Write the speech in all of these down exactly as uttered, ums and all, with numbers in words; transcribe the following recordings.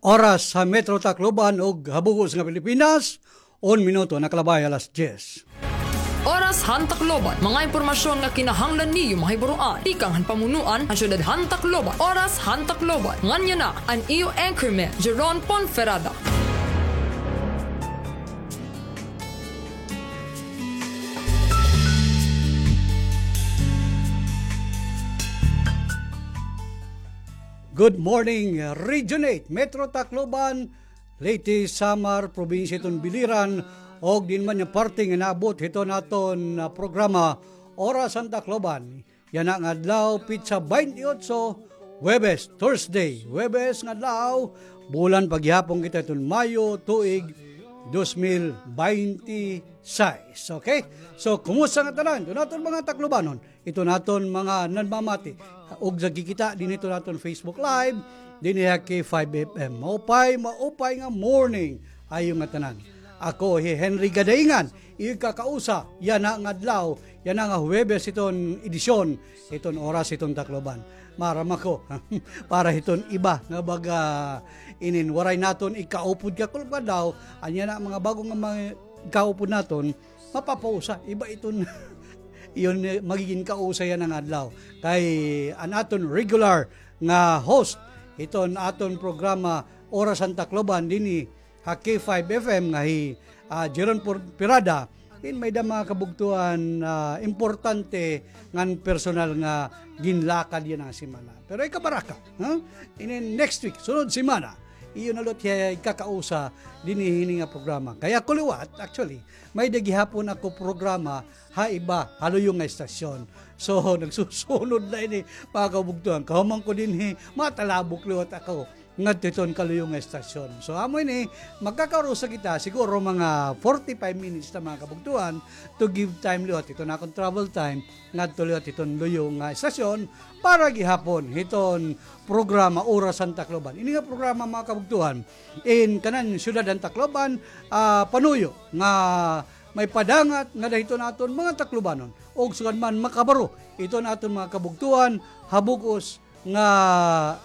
Oras ha Metro Tacloban ug ha bug-os nga Pilipinas, un minuto nakalabay alas diyes. Oras han Tacloban, mga impormasyon nga kinahanglan niyo mahibaroan tikang han pamunuan han syudad han Tacloban. Oras han Tacloban, ngan yana an iyo anchorman, Jeron Ponferrada. Good morning, Region eight, Metro Tacloban, Leyte, Samar, probinsya hiton Biliran, ug diin man nga parte nga naabot hiton aton, ah, programa, Oras han Tacloban. Yana nga adlaw, petsa baynte otso, Huwebes, Thursday, Huwebes nga adlaw, bulan pa gihapon kita hiton Mayo, tuig dos mil baynte sais. Okay? So, kumusta nga tanan? Hiton aton mga Taclobanon, hiton aton mga nanmamati, ug nagkikita dinhi hiton aton Facebook Live, dinhi ha K five F M. Maupay, maupay nga morning ha iyo ngatanan. Ako hi Henry Gadaingan, iyo kakausa, yana nga adlaw, yana nga Huwebes hiton edisyon, hiton Oras hiton Tacloban. Maaram ako, para hiton iba nga baga inin waray naton ikaupod kakulop nga adlaw, an yana mga bag-o nga mga ikaupod naton, mapapausa, iba iton, iyo, eh, magigin kausa yana nga adlaw. Kay an aton regular nga host hiton aton programa, Oras han Tacloban, dinhi ha K five F M nga hi, ah, Jeron Por-, Pirada, in may-ada mga kabugtoan, ah, importante ngan personal nga ginlakad yana nga semana. Pero ikabaraka, ha? Inin next week, sunod semana, iyo na liwat hiya ikakausa dinhi hini nga programa. Kay ako liwat, actually, may-ada gihapon ako programa ha iba, ha luyo nga estasyon. So, nagsusunod na ini, mga kabugtoan. Kahuman ko dinhi, matalabok liwat ako ngadto hiton kaluyo nga estasyon. So, amo ini, magkakaurusa kita, siguro mga forty-five minutes na, mga kabugtoan, to give time liwat hiton akon travel time ngadto liwat hiton luyo nga estasyon para gihapon hiton programa Oras han Tacloban. Ini nga programa, mga kabugtoan, in kanan syudad han Tacloban, ah, panuyo nga may padangat ngada hiton aton mga Taclobanon. Ug sugad man makabaro hiton aton mga kabugtoan ha bug-os nga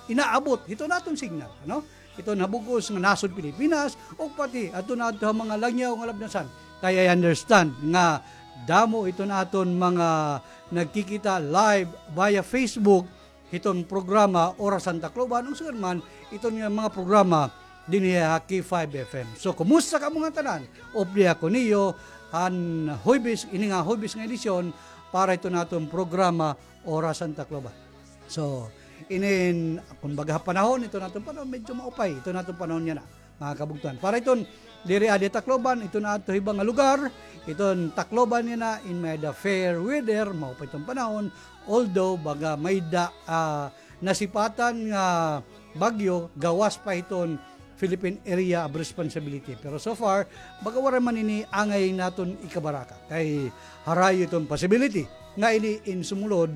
inaabot hiton aton signal, ano? Hiton ha bug-os nga nasod Pilipinas, ug pati adto na adto ha mga langyaw nga labnasan. Kay I understand nga damo hiton aton mga nagkikita live via Facebook hiton programa Oras han Tacloban, ug sugad man hiton nga mga programa dinhi ha K five F M. So, kumusta kamo ngatanan? Updi ako niyo han Huwebes, ini nga Huwebes nga edisyon para hiton aton programa Oras han Tacloban. So, inin, kumbaga, ha panahon, hiton aton panahon, medyo maupay hiton aton panahon yana, mga kabugtoan. Para hiton diri adi Tacloban, hiton aton iba nga lugar, hiton Tacloban yana, in may-ada fair weather, maupay hiton panahon, although, baga, may-ada, ah, nasipatan nga bagyo, gawas pa hiton Philippine Area of Responsibility. Pero so far, baga waray man ini angay naton ikabaraka. Kay harayo iton possibility nga ini in sumulod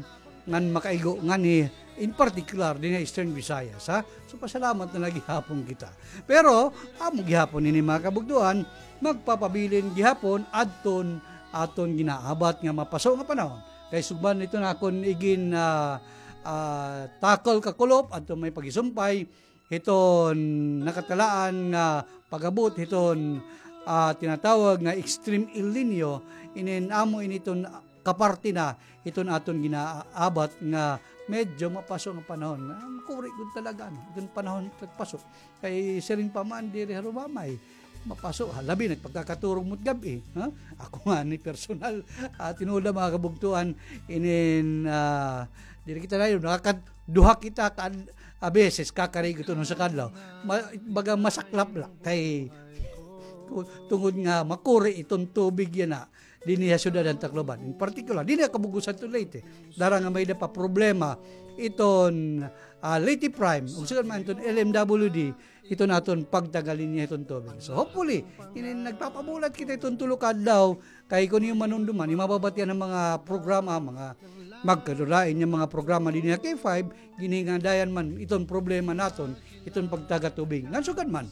ngan makaigo nganhi, in particular dinhi ha Eastern Visayas, ha? So, pasalamat na la gihapon kita. Pero amo gihapon ini, mga kabugtoan, magpapabilin gihapon adton aton ginaabat nga mapaso nga panahon. Kay sugad man hiton akon igin, ah, ah, takol kakulop adto may pagisumpay, hiton nakatalaan nga pag-abot hiton, ah, tinatawag nga Extreme El Niño, inin amo ini iton kaparte na hiton aton ginaabat nga medyo mapaso nga panahon. Ah, makuri gud talaga, ano, iton panahon pagpaso. Kay siring pa man diri ha Rumamay, mapaso, ha, labi na pagkakaturog mo't gab-i, ha? Ako ngani personal, ah, tinuod la, mga kabugtoan, inin, ah, diri kita dayon, nakakaduha kita ka, a beses, kakarigot hiton usa ka adlaw. Ma-, baga masaklap la, kay, tungod nga makuri iton tubig yana, dinhi ha syudad han Tacloban. In particular, dinhi ha kabug-osan hiton Leyte. Dara nga may-ada pa problema iton, ah, Leyte Prime, ug sugad man iton L M W D, hiton aton pagtagalinya hiton tubig. So, hopefully, ini nagpapabulat kita hiton tulo ka adlaw, kay kon iyo manumduman, iyo mababatian an mga programa, mga magkadulain nga mga programa dinhi ha K five, giningadayan man iton problema naton, iton pagtaga tubig. Ngan sugad man,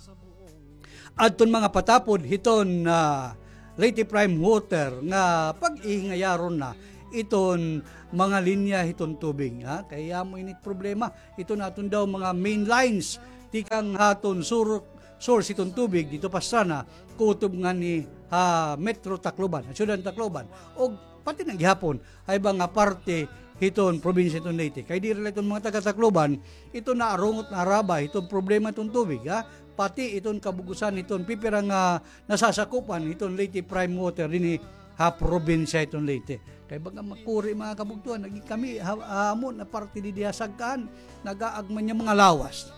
adton mga patapod hiton, ah, Leyte Prime Water nga pag-ihingayaron na iton mga linya hiton tubig, ha? Kay amo ini problema, iton aton daw mga main lines tikang ha aton sur-, source hiton tubig didto Pastrana, kutob ngani ha Metro Tacloban, ha siyudad han Tacloban, ug pati na gihapon ha iba nga parte hiton probinsya hiton Leyte. Kay diri la iton mga taga Tacloban iton naarungot, naarabay hiton problema hiton tubig, ha? Pati iton kabug-osan hiton pipira nga nasasakupan hiton Leyte Prime Water dinhi ha probinsya hiton Leyte. Kay baga makuri, mga kabugtoan, naging kami ha, ha amon nga parte didi ha Sagkahan, nagaag man nga mga lawas.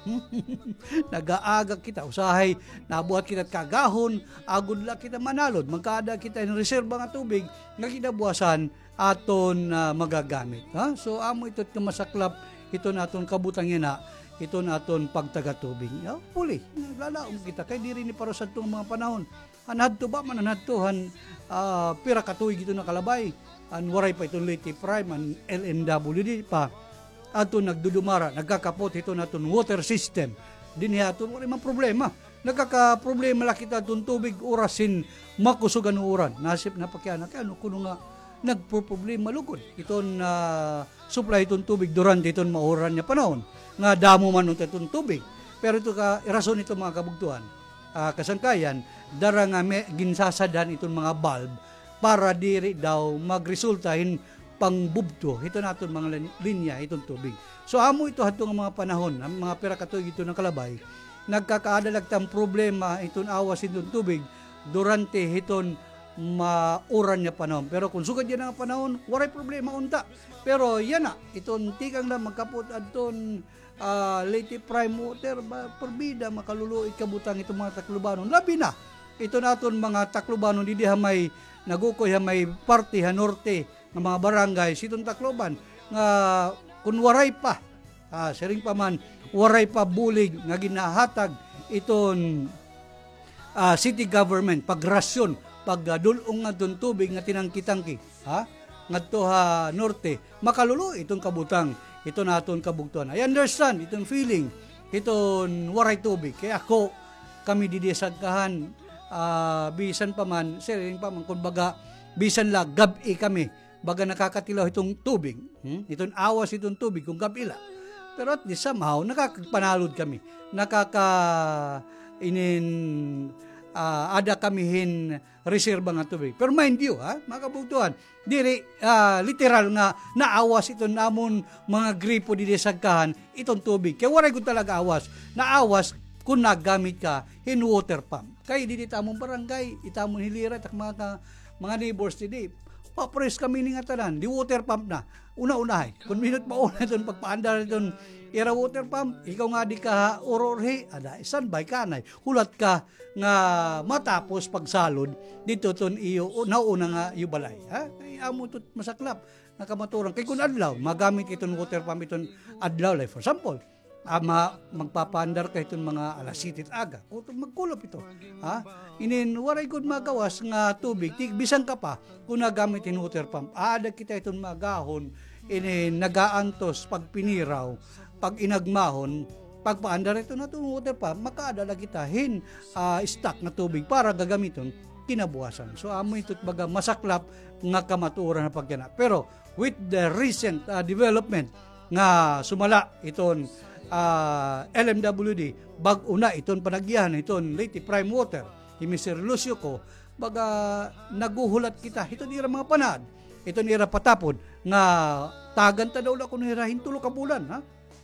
Nagaaga kita, usahay nabuhat kita hit kaagahon, agod la kita manalod, magkaada kita hin reserba nga tubig nga kinabuwasan aton, ah, magagamit, ha? So, amo ito it masaklap hiton aton kabutang yana, hiton aton pagtagatubig. Hopefully, naglalaom kita kay diri ini para sadto nga mga panahon. An hadto ba man, an hadto han, ah, pira ka tuig ito nakalabay, an waray pa iton Leyte Prime, an L M W D pa. Adto nagdudumara, nagkakapot hiton aton water system. Dinhi ha aton, waray man problema. Nagkakaproblema la kita hiton tubig, oras hin makusog an uran. Nasip na pakiana, kay ano kuno nga nagpoproblema lugod iton, ah, supply hiton tubig durante hiton mauran nga panahon, nga damo man unta iton tubig. Pero ito ka rason ito, mga kabugtoan, ah, kasangkayan, dara nga may ginsasadhan iton mga valve para diri daw magresulta hin pangbubto hiton aton mga lin-, linya hiton tubig. So, amo ito hadto nga mga panahon, an mga pira ka tuig ito nakalabay, nagkakaada la kita hin problema hiton awas hiton tubig durante hiton mauran nga panahon. Pero kon sugad yana nga panahon, waray problema unta. Pero yana, iton tikang na magkapot adton, ah, Leyte Prime Water, ba, porbida, makaluluoy kabutang iton mga Taclobanon. Labi na iton aton mga Taclobanon didi ha may nagukoy ha may parte ha norte nga mga barangay hiton Tacloban nga kon waray pa, ah, siring pa man, waray pa bulig nga ginahatag iton, ah, city government, pagrasyon, pag, ah, dul-ong ngadton tubig nga tinangki-tangki, ha? Ngadto ha norte, makaluluoy iton kabutang, iton aton kabugtoan. I understand iton feeling hiton waray tubig. Kay ako, kami didi ha Sagkahan, ah, bisan pa man, siring pa man, kumbaga, bisan la gab-i kami, baga nakakatilaw hiton tubig, hmm? Hiton awas hiton tubig kon gab-i la. Pero at least somehow, nakakagpanalod kami. Nakaka-, inin, ah, ada kami hin reserba nga tubig. Pero mind you, ha, mga kabugtoan, diri, ah, literal nga naawas iton amon mga gripo didi ha Sagkahan, iton tubig. Kay waray gud talaga awas. Naawas kon nagamit ka hin water pump. Kay didi it amon barangay, it amon hilira, it ak mga ka-, mga neighbors didi. Papares kami ini ngatanan, di water pump na. Una-unahay. Kon mahimo it mauna iton pagpaandar iton ira water pump, ikaw nga di ka ha ururhi, ada, standby ka anay. Hulat ka nga matapos pagsalod didto iton iyo, o, nauna nga iyo balay, ha? Kay amo ito it masaklap nga kamatuoran. Kay kon adlaw, magamit iton water pump iton adlaw, like, for example, ah, ma-, magpapaandar ka hiton mga alas siyete it aga. Kutob, magkulop ito. Ha? Inin, waray gud magawas nga tubig, ti-, bisan ka pa, kon nagamit hin water pump. Aada kita hiton maagahon, inin, nagaantos, pagpiniraw, pag-inagmahon, pagpaandar hiton aton water pump, makaada la kita hin, ah, stock nga tubig para gagamiton kinabuwasan. So, amo ito it baga masaklap nga kamatuoran ha pagkana. Pero, with the recent, ah, development nga sumala iton, ah, L M W D, bag-o na iton panagihan iton Leyte Prime Water, hi Mister Lucio Co, baga naghuhulat kita hiton ira mga panaad, iton ira patapod nga tagan ta daw la kuno hira hin tulo ka bulan, ha?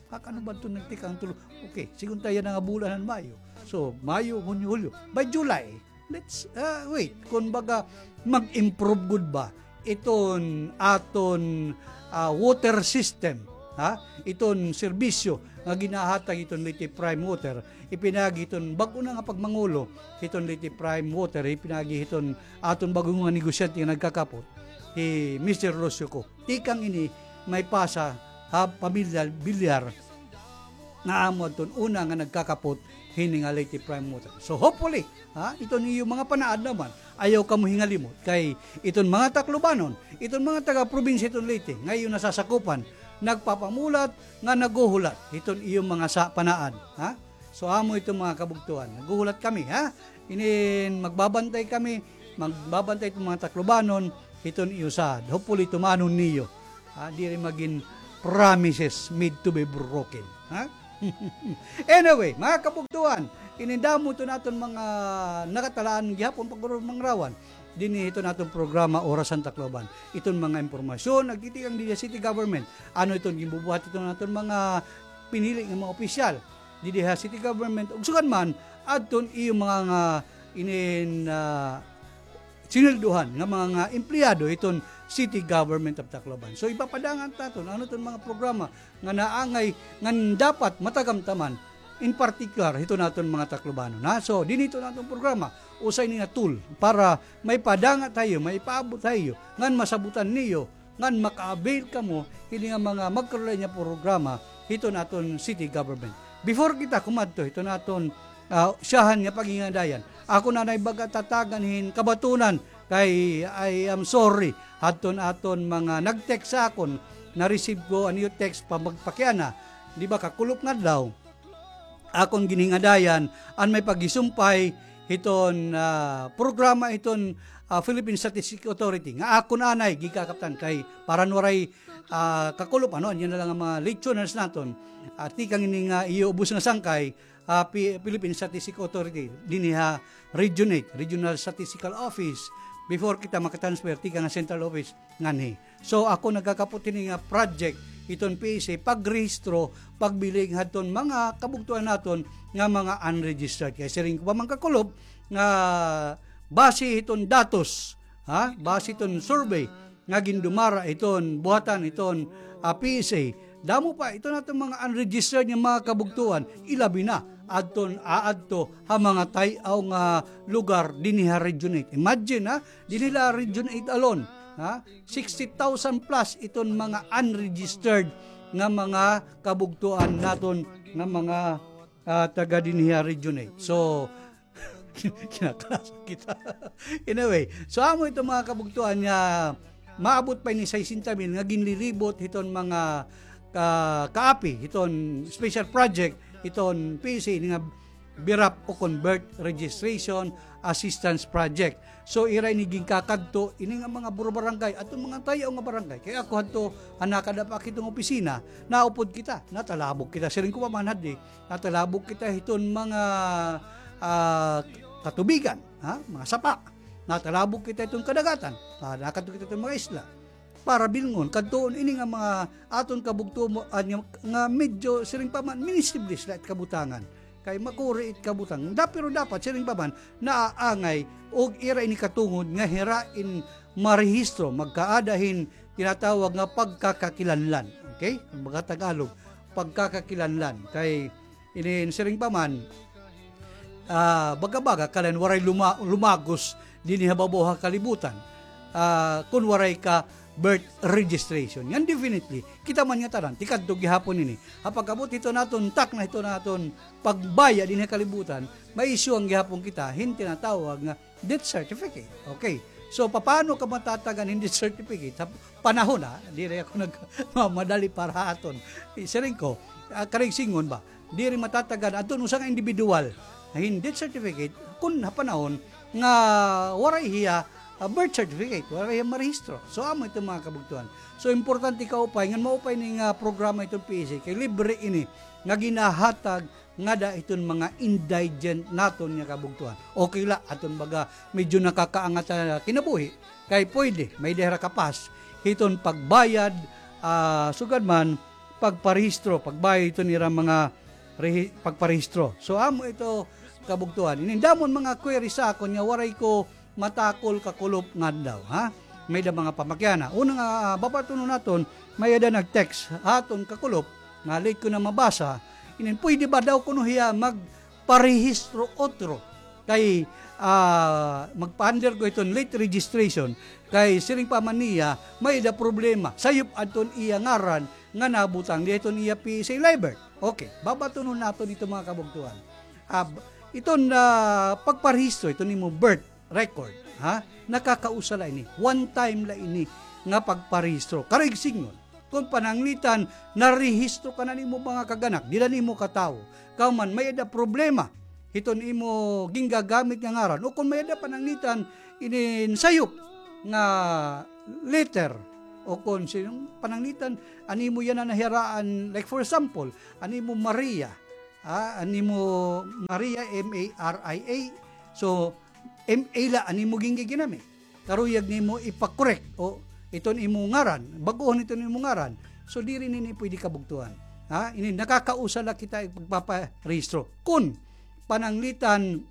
Ha, kano ba ito nagtikang tulo? Okay, sige unta yana nga bulan han Mayo. So, Mayo, Hunyo, Hulyo. By July, let's, ah, wait. Kon baga, mag-improve gud ba iton aton, ah, water system, ha? Iton serbisyo nga ginahatag iton Leyte Prime Water, ipinaagi hiton bag-o na nga pagmangulo hiton Leyte Prime Water, ipinaagi hiton aton bag-o nga negosyante nga nagkakapot, hi Mister Rocio Co. Tikang ini may pasa ha pamilya Villar nga amo adton una nga nagkakapot hini nga Leyte Prime Water. So, hopefully, ha, iton iyo mga panaad naman, ayaw kamo hingalimot kay iton mga Taclobanon, iton mga taga-probinsya hiton Leyte, nga iyo nasasakupan, nagpapamulat nga naghuhulat hiton iyo mga sa panaad, ha? So, amo ito, mga kabugtoan. Naghuhulat kami, ha? Inin, magbabantay kami, magbabantay iton mga Taclobanon hiton iyo saad. Hopefully, tumanon niyo. Ha? Diri magin promises made to be broken, ha? Anyway, mga kabugtuan, ini damo iton aton mga nakatalaan gihapon pagmangarawan dinhi hiton aton programa Orasan Tacloban. Iton mga impormasyon nagtitikang dinhi ha city government. Ano iton ginbubuhat hiton aton mga pinili nga mga opisyal dinhi ha city government, ug sugad man adton iyo mga nga inin, ah, sinweldohan nga mga empleyado hiton City Government of Tacloban. So, ipapadangat naton ano iton mga programa nga naangay, nga dapat matagamtaman, in particular hiton aton mga Taclobanon, ha. So, dinhi hiton aton programa, usa ini nga tool para maipadangat ha iyo, maipaabot ha iyo, ngan masabutan niyo ngan maka-avail kamo hini nga mga magkarulayan nga programa hiton aton city government. Before kita kumadto hiton aton, ah, syahan nga pagingadayan, ako na anay baga tatagan hin kabatunan kay I am sorry hadton aton mga nag-text sa akon, na-receive ko an iyo text pa magpakiana, di ba, kakulop nga adlaw. Akon ginhingadayan an may paghisumpay hiton, ah, programa hiton, ah, Philippine Statistic Authority nga akon anay gikakaptan kay para waray, ah, kakulop, ano, an iya na la nga mga listeners naton, ah, tikang ini nga iyo ubos nga sangkay, ah, Pi-, Philippine Statistic Authority dinhi ha Region eight, Regional Statistical Office, before kita makatransfer tikang ha central office nganhi. So, ako nagkakapot hini nga project hiton P S A, pagrehistro, pagbiling hadton mga kabugtoan naton nga mga unregistered. Kay siring ko pa man kakulop nga base hiton datos, ha? Base hiton survey nga gindumara hiton buhatan hiton, ah, P S A, damo pa iton aton mga unregistered nga mga kabugtoan, ilabi na adton aadto ha mga tay-aw nga lugar dinhi ha Region eight. Imagine, ha, dinhi la Region eight alone, ha, sixty thousand plus iton mga unregistered nga mga kabugtoan naton nga mga, ah, taga dinhi ha Region eight. So, kinakalasan kita. Anyway, so amo iton mga kabugtoan nga maabot pa ini sesenta mil nga ginlilibot hiton mga ka-, kaapi, hiton special project, hiton P S A, ini nga BRAP o kon Birth Registration Assistance Project. So, ira ini ginkakadto, ini nga mga buro barangay, aton mga tay-aw nga barangay. Kay ako hadto, ha nakadapa ak hiton opisina, naupod kita, natalabog kita. Siring ko pa man haddi, natalabog kita hiton mga, ah, katubigan, ha? Mga sapa. Natalabog kita hiton kadagatan. Ah, nakadto kita hiton mga isla. Para bilngon, kadtuon ini nga mga aton kabugtoan nga, nga medyo siring pa man, ministibles la it kabutangan. Kay makuri it kabutang. Da, pero dapat siring pa man, naaangay, og ira ini katungod nga hira in marehistro, magkaada hin tinatawag nga pagkakakilanlan. Okay? Kumbaga Tagalog, pagkakakilanlan. Kay inin siring pa man, ah, baga-baga, kalan waray luma-, lumagos dinhi ha babaw ha kalibutan, ah, kun waray ka birth registration. Ngan definitely, kita man nga tanan, tikadto gihapon ini. Ha pag-abot hiton aton takna, hiton aton pagbayad dinhi ha kalibutan, ma-issue-an gihapon kita hin tinatawag nga death certificate. Okay. So, papaano ka matatagan hin death certificate? Sa panahon, ha? Diri ako nagmamadali para ha aton. Siring ko, ah, karuyag sidngon ba? Diri matatagan adton usa nga individual hin death certificate kun ha panahon nga waray hiya, ah, birth certificate, waray hiya marehistro. So, amo ito, mga kabugtuan. So, importante kaupay ngan maupay ini nga programa iton P S A kay libre ini nga ginahatag ngada hiton mga indigent naton nga kabugtoan. Okay la, aton baga medyo nakakaangat ha kinabuhi, kay pwede, may-ada hira kapas hiton pagbayad, ah, sugad man, pagparehistro, pagbayad hiton ira mga rehi-, pagparehistro. So, amo ito, kabugtoan. Inin damo an mga query sa akon nga waray ko matakol kakulop nga adlaw, ha? May-ada mga pamakiana. Una nga, ah, babatunon naton, may-ada nag-text ha aton kakulop, nga late ko na mabasa, inin, pwede ba daw kuno hiya magparehistro otro? Kay, ah, magpa-undergo hiton late registration, kay siring pa man niya, may-ada problema. Sayop adton iya ngaran nga nabutang dinhi hiton iya P S A LIBERT. Okay, babatunon naton ito, mga kabugtoan. Ah, b-, iton, ah, pagparehistro, iton imo birth record, ha? Nakakausa la ini. One time la ini nga pagparehistro. Karuyag sidngon, kon pananglitan, narehistro ka na nimo mga kag-anak, dida nimo katawo. Kahuman, may-ada problema hiton imo gingagamit nga ngaran. O kon may-ada pananglitan, inin sayop nga letter, o kon sinong pananglitan, an imo yana nahiaraan, like for example, an imo Maria, ah, an imo Maria, M A R I A. So, M A la an imo gingiginamit. Karuyag nimo ipa-correct o iton imo ngaran, bag-ohon iton imo ngaran. So, diri nini pwede kabugtoan. Ha? Ini nakakausa la kita pagpaparehistro. Kun pananglitan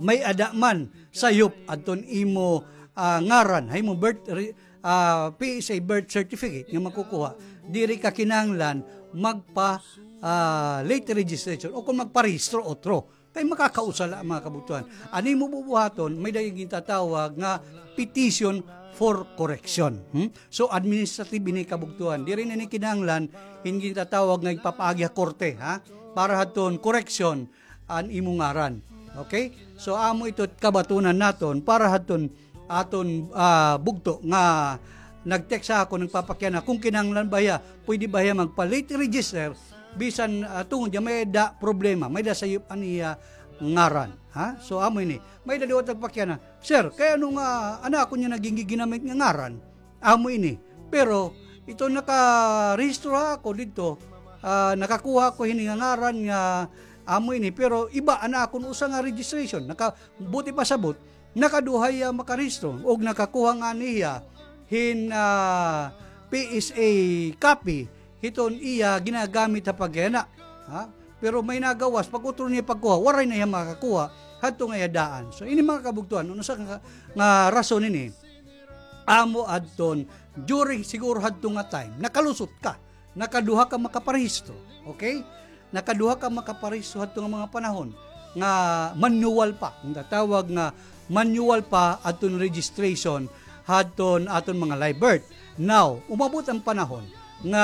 may-ada man sayop adton imo, ah, ngaran, ha imo birth re-, ah, P S A birth certificate nga makukuha, diri ka kinahanglan magpa, ah, late registration o kung magparehistro otro. Kay makakausa la, mga kabugtoan. An imo bubuhaton, may-ada gintatawag nga petition for correction. Hmm? So, administrative ini, kabugtoan. Diri na ini kinahanglan hin gintatawag nga ipapaagi ha korte, ha? Para hadton correction an imo ngaran. Okay? So, amo ito kabatunan naton para hadton aton, ah, bugto nga nag-text ha akon, nagpapakiana kung kinahanglan ba hiya, pwede ba hiya magpa-late register, bisan, ah, tungod niya may-ada problema, may-ada sayop an iya ngaran. Ha? So, amo ini. May-ada liwat nagpakiana, "Sir, kay ano nga an akon niya naging giginamit nga ngaran?" Amo ini. Pero, ito nakarehistro ako didto, ah, nakakuha ko hini nga ngaran nga amo ini, pero iba an akon usa nga registration. Naka-, buot ipasabot, nakaduha hiya makarehistro, og nakakuha ngani hiya hin, ah, P S A copy, hiton iya ginagamit ha pagkayana. Ha? Pero may nagawas, pag-utro niya pagkuha, waray na hiya makakuha hadto nga iya daan. So, ini mga kabugtoan, unsa nga, nga rason ini? Amo adton, during siguro hadto nga time, nakalusot ka, nakaduha ka makaparehistro, okay? Nakaduha ka makaparehistro hadto nga mga panahon nga manual pa, ang tatawag nga manual pa adton registration hadton aton mga live birth. Now, umabot ang panahon nga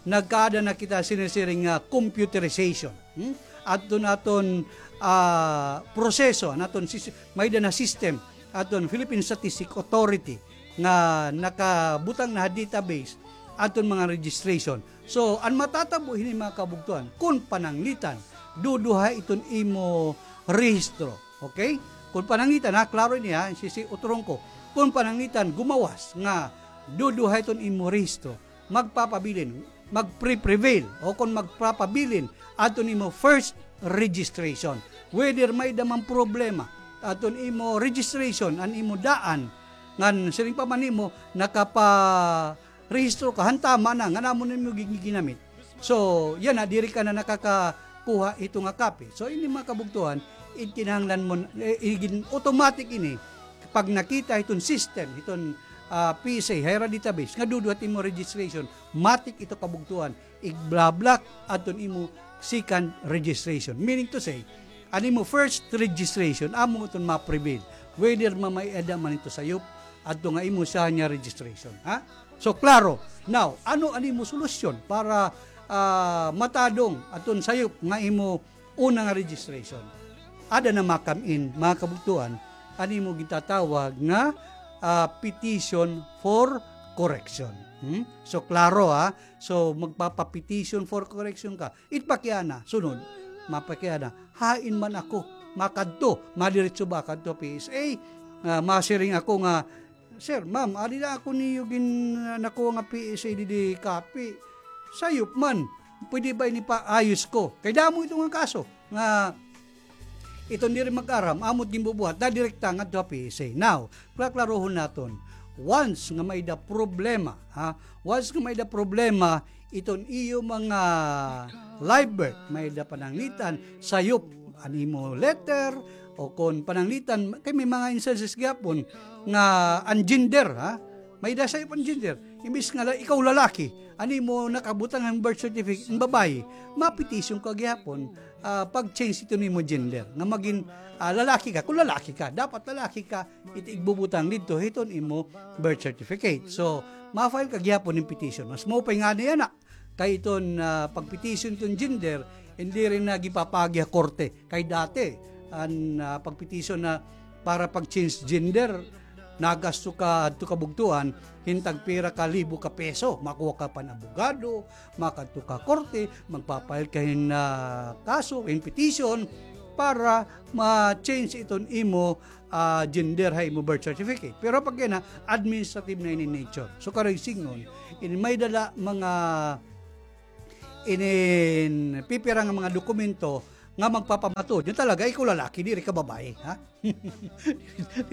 nagkaada na kita sinisiring nga computerization. Hmm? Adton aton, ah, proseso, an aton sis-, may-ada na system, aton Philippine Statistic Authority nga nakabutang na ha database aton mga registration. So, an matatabo hini, mga kabugtoan, kun pananglitan, duduha iton imo rehistro. Okay? Kun pananglitan, ha, klaro ini, ha, sisi-, uturon ko. Kun pananglitan, gumawas nga duduha iton imo rehistro, magpapabilin, magpre-prevail, o kon magpapabilin adton imo first registration. Whether may-ada man problema adton imo registration, an imo daan, ngan siring pa man nimo, nakaparehistro ka, han tama na, ngan amo na imo gi-, ginamit. So, yana, diri ka na nakakakuha hito nga copy. So, ini mga kabugtoan, ikinahanglan mo, eh, igin-, automatic ini, pag nakita hiton system, hiton, ah, P S A, HIRA database, nga duduha it imo registration, matik ito kabugtoan, igba-block adton imo second registration. Meaning to say, an imo first registration, amo iton ma-prevail. Whether mamay-ada man ito sayop, adto nga imo siya niya registration. Ha? So, klaro. Now, ano an imo solusyon para, ah, matadong adton sayop nga imo una nga registration. Ada na makam-in, mga kabugtoan, an imo gintatawag nga, ah, petition for correction. Hmm? So, klaro, ha? So, magpapa-petition for correction ka. It pakiana, sunod, mapakiana, hain man ako makadto, madiretso ba kadto P S A? Ah, masiring ako nga, "Sir, ma'am, adi la ako niyo gin-, nakuha nga P S A didi copy. Sayop man. Pwede ba ini paayos ko?" Kay damo ito nga kaso nga iton diri mag-aram, amo it ginbubuhat, dadirekta ngadto ha P S A. Now, klaklarohon naton. Once nga may-ada problema, ha? Once nga may-ada problema, iton iyo mga live birth, may-ada pananglitan, sayop an imo letter, o kon pananglitan, kay may mga instances gihapon nga an gender, ha? May-ada sayop an gender. Imbis nga la-, ikaw lalaki, an imo nakabutang han birth certificate, an babayi, ma-petition ka gihapon, ah, pag-change iton imo gender. Nga magin, ah, lalaki ka, kung lalaki ka, dapat lalaki ka, it igbubutang didto hiton imo birth certificate. So, ma-file ka gihapon hin petition. Mas maupay ngani yana. Kay iton, ah, pag-petition iton gender, diri na ginpapaagi ha korte. Kay dati, an, ah, pag-petition na para pag-change gender, nagasto ka hadto kabugtoan hin tagpira ka libo ka peso. Makuha ka pa hin abogado, makadto ka korte, magpa-file ka hin, ah, kaso, hin petition, para ma-change iton imo, ah, gender ha imo birth certificate. Pero pag yana, administrative na ini nature. So, karuyag sidngon, ini may-ada la mga inin pipira nga mga dokumento nga magpapamatuod nga talaga ikaw lalaki, diri ka babae, ha?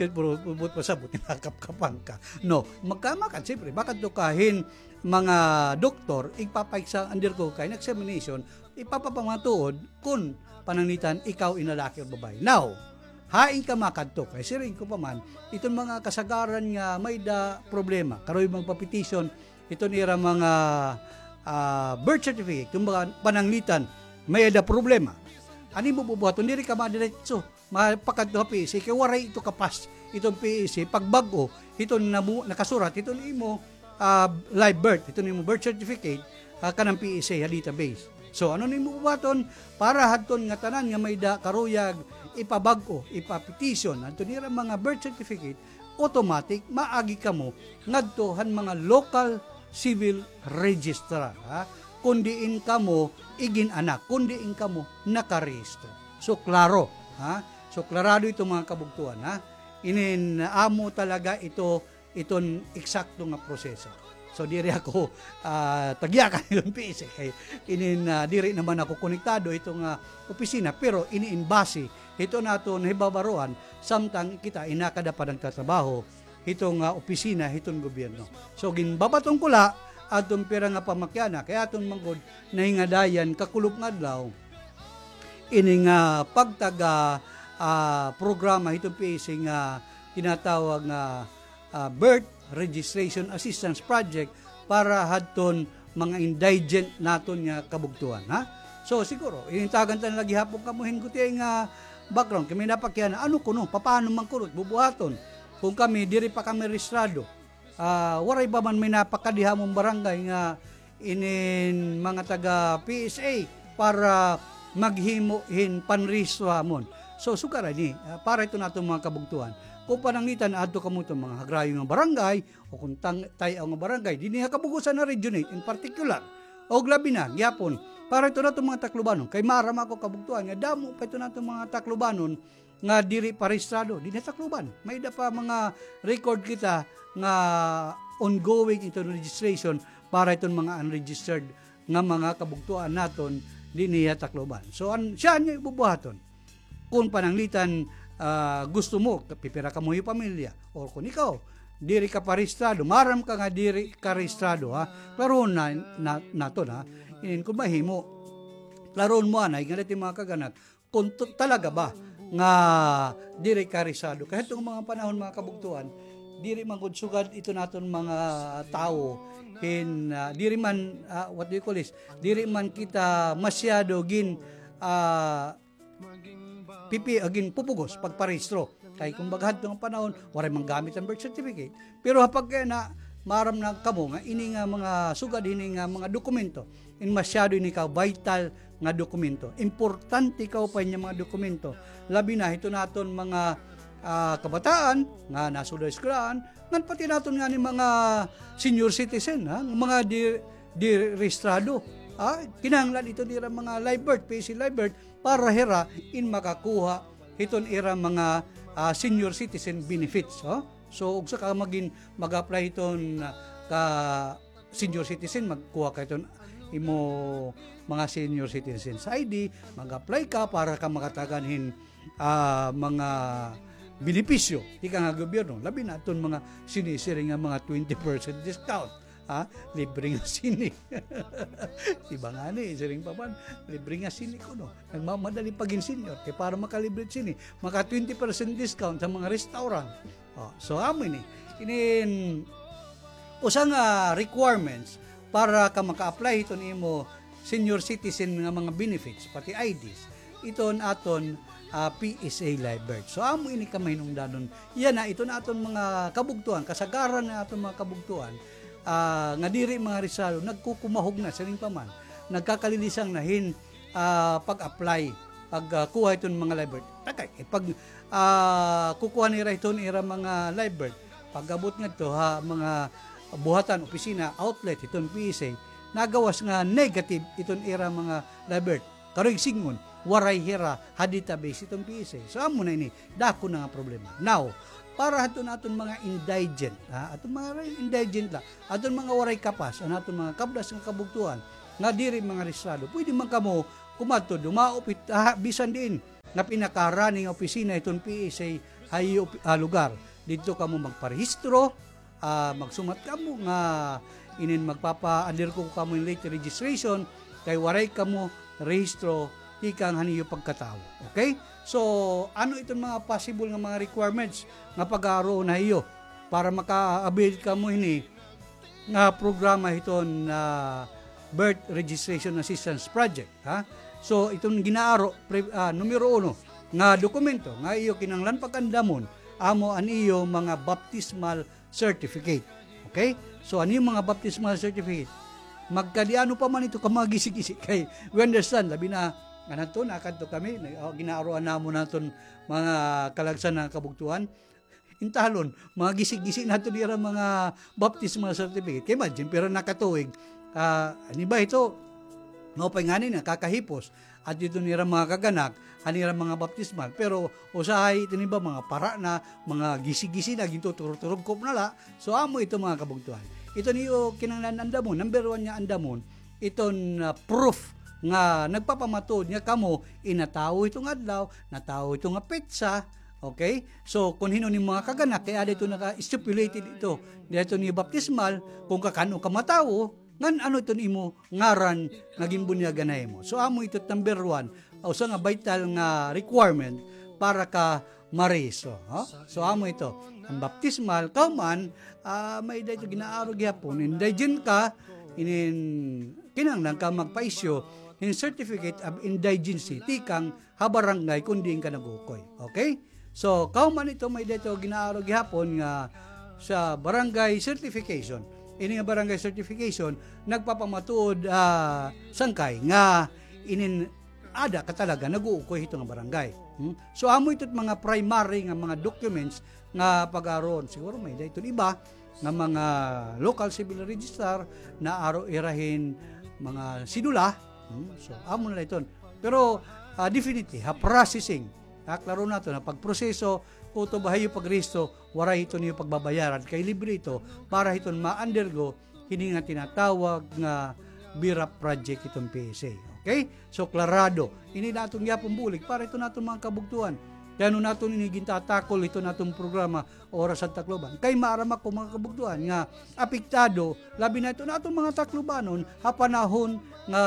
Puro buot pasabot, nakapkapan ka. No, magkamakad, siyempre, makadto ka hin mga doktor, igpapaiksa, undergo ka hin examination, ipapapamatuod kun pananglitan ikaw in lalaki o babae. Now, hain ka makadto? Kay siring ko pa man, iton mga kasagaran nga may-ada problema, karuyag magpa-petition, iton ira mga, ah, birth certificate, kumbaga, pananglitan, may-ada problema. Ano imo bubuhaton? Diri ka madiretso mapakadto ha P E C, kay waray ito kapas, iton P E C, pagbag-o, iton namu-, nakasurat, iton imo, ah, live birth, iton imo birth certificate, ah, kanan P E C ha database. So, ano nimo bubuhaton? Para hadton ngatanan nga may-ada karuyag ipabag-o, ipa-petition, hadton ira mga birth certificate, automatic, maagi kamo ngadto han mga local civil registrar, ha? Kun diin kamo igin-anak, kun diin kamo nakarehistro. So, klaro, ha? So, klarado ito, mga kabugtoan, ha? Inin amo talaga ito, iton eksakto nga proseso. So, diri ako, ah, tagyakan iton P E C kay inin, ah, diri naman ako konektado ito nga opisina, pero ini in base hito naton hibabaroan, samtang kita in nakada pa nagtatrabaho hiton nga opisina hiton gobyerno. So, ginbabaton ko la adton pira nga pamakiana, kay aton man gud nahingadayan kakulop nga adlaw ini nga pagtaga, ah, programa hiton P E C nga tinatawag nga, ah, Birth Registration Assistance Project para hadton mga indigent naton nga kabugtoan, ha? So, siguro, inintagan ta na la gihapon kamo hin gutiay nga background. Kay may napakiana, ano kuno, papaano man kuno bubuhaton? Kun kami, diri pa kami rehistrado. Ah, waray ba man may napakadi ha amon barangay nga inin mga taga P S A para maghimo hin panrehistro ha amon? So, sugad ini, ah, para ito naton mga kabugtoan. Kun pananglitan, adto kamo iton mga Hagrayo nga barangay, o kun tang-, Tay-aw nga barangay, dinhi ha Kabug-osan nga Region eight in particular. Og labi na, gihapon, para ito naton mga Taclobanon. Kay maaram ako, kabugtoan, nga damo pa ito naton mga Taclobanon nga diri pa rehistrado dinhi ha Tacloban. May-ada pa mga record kita nga ongoing iton registration para iton mga unregistered nga mga kabugtoan naton dinhi ha Tacloban. So, an-, siya niyo ibubuhaton. Kun pananglitan, ah, gusto mo, pipira kamo hi pamilya, or kun ikaw, diri ka pa rehistrado, maaram ka nga diri ka rehistrado, ha? Klarohon na, na, naton, ha? Inin kun mahimo, klarohon mo anay, nga dati mga kag-anak, kun to-, talaga ba nga diri ka rehistrado. Kay hadto nga mga panahon, mga kabugtoan, diri man gud sugad ito naton mga tawo hin, ah, diri man, ah, what do you call this? Diri man kita masyado gin, ah, pipi-, ah, ginpupugos pagparehistro. Kay kumbaga hadto nga panahon, waray man gamit an birth certificate. Pero ha pagkayana, maaram na kamo nga ini nga mga sugad hini nga mga dokumento, in masyado ini ka vital nga dokumento. Importante kaupay nga mga dokumento. Labi na hito naton mga, ah, kabataan nga nasulod ha eskwelahan, ngan pati naton ngani mga senior citizen, ha, mga di, di rehistrado. Ha, kinahanglan ito nira mga live birth, P S A live birth, para hira in makakuha hiton ira mga, ah, senior citizen benefits, ha. So, ugsa ka magin, mag-apply hiton, ah, ka senior citizen, magkuha ka hiton imo mga senior citizens I D, mag-apply ka para ka makatagan hin, ah, mga benepisyo tikang ha gobyerno, labi na iton mga sinisiring nga mga twenty percent discount. Ha? Libre nga sini. Di ba ngani, siring pa man, libre nga sini kuno. Nagmamadali pa gin senior, kay para makalibre sini, maka twenty percent discount ha mga restaurant. O, so, amo ini. Inin usa nga requirements para ka maka-apply hiton imo senior citizen nga mga benefits, pati I Ds, iton aton, ah, P S A live birth. So, amo ini ka mahinungdanon. Yana, iton aton mga kabugtoan, kasagaran nga aton mga kabugtoan, ah, nga diri mga rehistrado, nagkukumahog na, siring pa man, nagkakalilisang na hin, ah, pag-apply, pag, ah, kuha hiton mga live birth. Takay, eh, pag, ah, kukuha nira hiton ira mga live birth, pag-abot ngadto ha mga buhatan, opisina, outlet hiton P S A, nagawas nga negative iton ira mga live birth. Karuyag sidngon, waray hira ha database iton P S A. So, amo na ini, dako na nga problema. Now, para hadton aton mga indigent, ha, aton mga indigent la, aton mga waray kapas, an aton mga kabdas nga kabugtoan, nga diri mga rehistrado, pwede man kamo kumadto, dumaop hit, ha, bisan diin nga pinakaharani nga opisina hiton P S A ha iyo, ah, lugar. Didto kamo magparehistro, ah, magsumat kamo nga inin magpapa-undergo kamo hin late registration kay waray kamo rehistro tikang han iyo pagkatawo. Okay? So, ano iton mga possible nga mga requirements nga pag-aaroon ha iyo para maka-avail kamo hini nga programa hiton, ah, Birth Registration Assistance Project, ha? So, iton ginaaro, pre-, ah, numero uno nga dokumento nga iyo kinahanglan pag-andamon, amo an iyo mga baptismal certificate. Okay? So, an iyo mga baptismal certificate, magkadiano pa man ito ka mga gisi-gisi kay we understand, labi na, nganadto, nakadto kami, nag-, oh, ginaaroan namon naton mga kalagsan nga kabugtoan. Intalon, mga gisi-gisi naton ira mga baptismal certificate. Kay imagine, pira na ka tuig, ah, an iba ito, maupay ngani na, kakahipos. At ito nira mga kaganak, han ira mga baptismal. Pero usahay ito niba mga para na, mga gisi-gisi na, gintuturog-turog ko na la. So, amo ito mga kabugtoan. Ito niyo kinahanglan andamon, number one nga andamon, iton, ah, proof nga nagpapamatuod nga kamo inatawo ito nga adlaw, natawo ito nga petsa, okay? So, kun hin-o ni mga kaganak, kay ada ito naka-stipulated ito. Dito ni baptismal, kung kakan-o ka matawo, ngan ano iton imo ngaran nga ginbunyagan ha imo. So, amo ito number one, usa nga vital nga requirement para ka mariso, ha? So, amo ito. An baptismal, kahuman, ah, may-ada ito ginaaro gihapon. Indigent ka, inin, kinahanglan ka magpa-issue hin certificate of indigency tikang ha barangay kun diin ka nag-uukoy. Okay? So, kahuman ito, may-ada ito ginaaro gihapon nga sa barangay certification. Ini nga barangay certification, nagpapamatuod, ah, sangkay nga inin ada ka talaga nag-uukoy hito nga barangay. Hmm? So, amo ito mga primary nga mga documents nga pag-aaron. Siguro may-ada iton iba nga mga local civil registrar nga aro ira hin mga sidula. Hmm? So, amo na la iton. Pero, ah, definitely, ha processing, ha, klaro naton, ha pagproseso, kutob ha iyo pagrehistro, waray ito niyo pagbabayaran, kay libre ito para hiton ma-undergo hini nga tinatawag nga BRAP project hiton P S A. Okay? So, klarado. Ini naton gihapon bulig para hiton aton mga kabugtoan. Kay ano naton ini gintatakol hiton aton programa Oras han Tacloban. Kay maaram ako, mga kabugtoan, nga apektado, labi na iton aton mga Taclobanon, ha panahon nga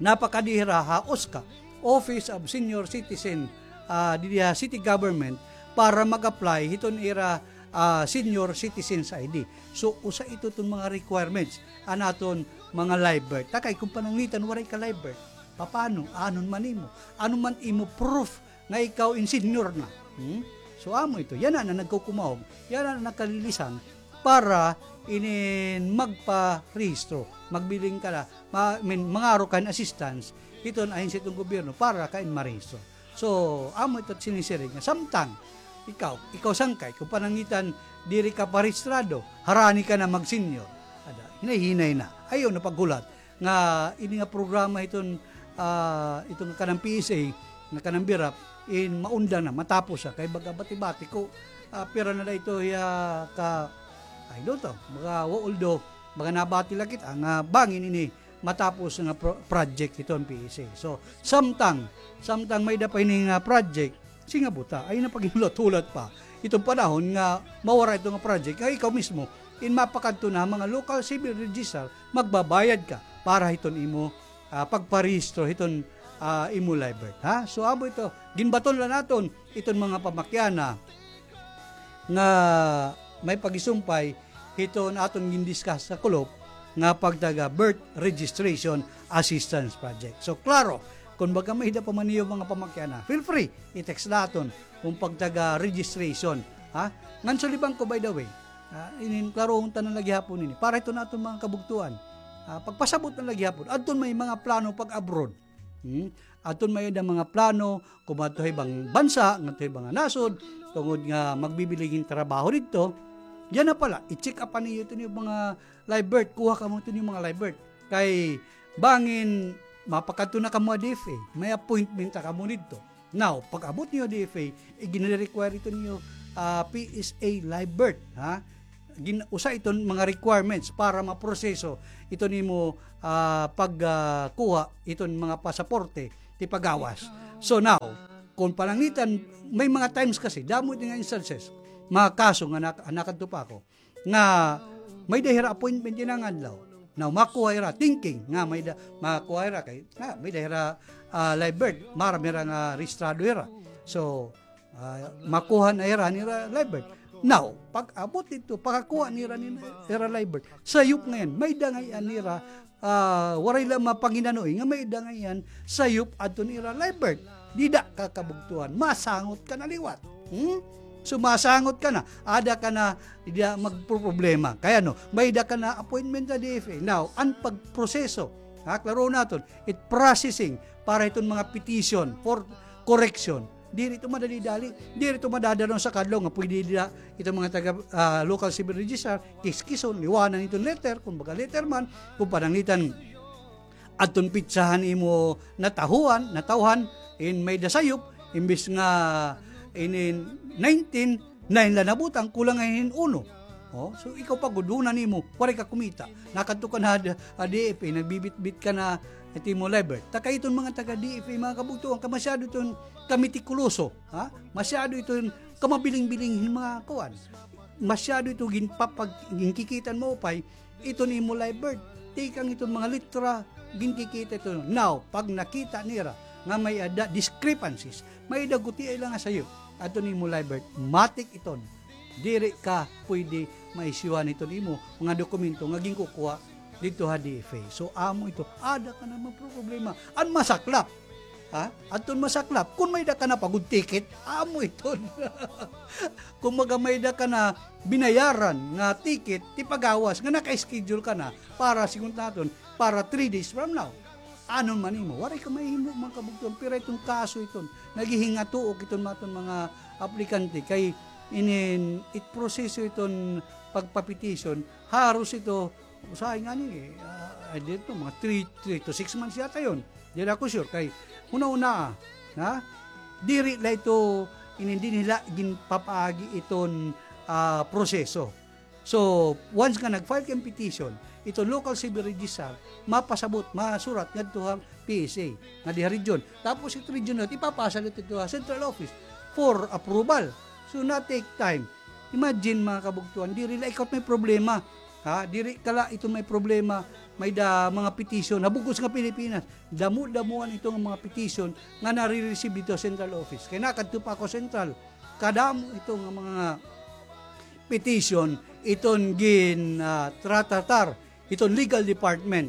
napakadi hira ha OSCA, Office of Senior Citizen, ah, didi ha city government para mag-apply hiton ira, ah, senior citizens I D. So, usa ito ton mga requirements an aton mga live birth. Ta kay kun pananglitan waray ka live birth, papano? Anon man imo? Ano man imo proof nga ikaw in senior na? Hmm? So, amo ito. Yana na nagkukumahog. Yana na nagkalilisan para inin magparehistro. Magbiling ka na. Ma-, I mean, mangaro ka hin assistance hiton ahensya hiton gobyerno para ka in marehistro. So, amo ito sinisiring nga samtang ikaw, ikaw sangkay, kun pananglitan diri ka parehistrado, harani ka na mag-senior. Ada, hinay-hinay na. Ayaw na paghulat nga ini nga programa hiton, ah, iton nga kanan P S A, nga kanan BRAP, in maundang na, matapos na. Kay baga bati-bati ko, ah, pira na la ito hiya ka, I don't know, baga, although, baga nabati la kita nga bangin ini matapos nga pro-, project hiton P S A. So, samtang, samtang may-ada pa ini nga project, Singabuta, ayaw na paghulat-hulat pa. Iton panahon nga mawara ito nga project, nga ikaw mismo, in mapakadto na mga local civil registrar, magbabayad ka para hiton imo, ah, pagparehistro hiton, ah, imo live birth, ha? So, amo ito, ginbaton la naton iton mga pamakiana nga may pagisumpay hiton aton gindiscuss sa kulop nga pagtaga Birth Registration Assistance Project. So, klaro, kun baga may-ada pa man niyo mga pamakiana, feel free, i-text naton kun pagtaga registration, ha? Ngan sulibang ko, by the way, ah, inin klarohon ta na la gihapon ini. Para hiton aton mga kabugtoan, ah, pagpasabot na la gihapon. Adton may mga plano pag-abroad. Hmm? Aton may-ada mga plano, kumadto ha ibang bansa, ngadto ha ibang nasod, tungod nga magbibiling hin trabaho didto. Yana pala, i-check up niyo iton mga live birth, kuha kamo iton mga live birth. Kay bangin mapakadto na kamo ha D F A, may appointment na kamo didto. Now, pag-abot niyo ha D F A, iginre-require ito niyo, ah, P S A live birth, ha? Gin-, usa iton mga requirements para maproseso iton imo, ah, pag, ah, kuha iton mga pasaporte ti pagawas. So now, kung pananglitan, may mga times kasi, damo ito nga instances, mga kaso nga nak-, nakadto pa ako, nga may-ada hira appointment yana nga adlaw. Now, makuha hira, thinking nga may-ada, makuha hira kay, nga may-ada hira, ah, live birth, maaram hira nga rehistrado hira. So, ah, makuha na hira nira live birth. Now, pag-abot didto, pagkakuha nira nira, hira live birth, sayop ngay-an, may-ada ngay-an hira, ah, waray la mapanginanoy nga may-ada ngay-an sayop adton ira live birth. Dida ka kabugtoan, masangot ka na liwat. Hmm? So, masangot ka na, ada ka na, dida magproproblema. Kay ano, may-ada ka na appointment ha D F A. Now, an pagproseso, ha, klaro naton, it processing para iton mga petition for correction. Diri ito madali-dali. Diri ito madadalon sa kadlaw nga pwede dida iton mga taga, ah, local civil registrar, kiskison, liwanan iton letter, kumbaga letter man, kung pananglitan adton petsahan imo natahuan, natawhan, in may-ada sayop, imbis nga inin nineteen, nine la nabutang, kulang ngay hin uno. Oh, so ikaw pa gud, huna nimo, waray ka kumita. Nakadto ka na ha, ha D F A, nagbibitbit ka na it imo live birth. Ta kay iton mga taga D F A, mga kabugtoan, kay masyado iton kametikuloso, ha? Masyado iton kamabiling-biling hin mga kuan. Masyado ito ginpapag-, ginkikita hin maupay, iton imo live birth. Tikang iton mga litra, ginkikita ito. Now, pag nakita nira nga may-ada discrepancies, may-ada gutiay la nga sayop adton imo live birth, matik iton. Diri ka pwede maisyuhan iton imo mga dokumento nga ginkukuha didto ha D F A. So, amo ito, ada ka na magproproblema. An masaklap, ha? Adton masaklap, kun may-ada ka na pa gud ticket, amo iton. Kumbaga, may-ada ka na binayaran nga ticket, ti pagawas, nga naka-schedule ka na para, siring naton, para three days from now. Ano man imo, waray ka mahimo, mga kabugtoan, pero iton kaso iton, naghihingatuok iton aton mga aplikante, kay inin, it proseso iton pagpapetition, haros ito, usahay ngani, ah, dito, mga three, three to six months yata yon. Diri ako sure, kay huna-huna, ha? Diri la ito, inin, diri nila ginpapaagi iton, ah, proseso. So, once nga nag-file ka hin petition, iton local civil registrar, mapasabot, masurat ngadto ha P S A, nga di ha region. Tapos ito region na, ipapasa la ito ha central office for approval. So, na-take time. Imagine, mga kabugtoan, diri la ikaw may problema. Ha? Diri ka la ito may problema, may-ada mga petition ha bug-os nga Pilipinas. Damo-damoan ito nga mga petition nga nare-receive didto ha central office. Kay nakadto pa ako central, kadamo ito nga mga petition, iton gin, ah, tratratar iton legal department